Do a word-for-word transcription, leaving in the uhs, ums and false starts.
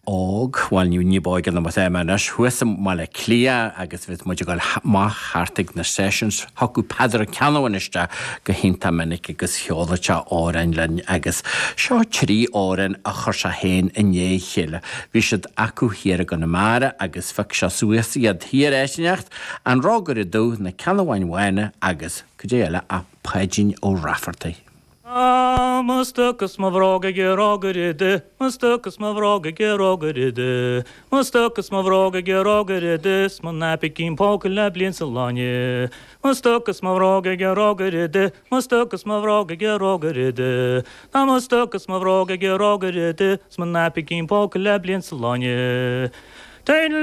Óg, bhuel ní b'óige ná mar anois thuas i mBaile Átha Cliath agus bhí muid ag dul amach thart ag na sessions thiocfadh Peadar Ó Ceannabháin isteach go hiontach minic agus cheoladh sé amhráin linn agus seo trí amhrán a chuir sé féin i ndiaidh a chéile. Bhí siad acu thiar i gConamara agus phioc sé suas iad thiar áit inteacht, An Rógaire Dubh, Na Ceannabháin Bhána agus cad é eile ach Páidín Ó Raifeartaigh. Ah, mo stoc is mo bhróg ag rógaire dubh, mo stoc is mo bhróg ag rógaire dubh, Mo stoc is mo bhróg ag rógaire dubh, 's mo naipicín póca le bliain 's a lá inniu. Mo stoc is mo bhróg ag rógaire dubh, mo stoc is mo bhróg ag rógaire dubh, Tá mo stoc is mo bhróg ag rógaire dubh, 's mo naipicín póca le bliain 's a lá inniu.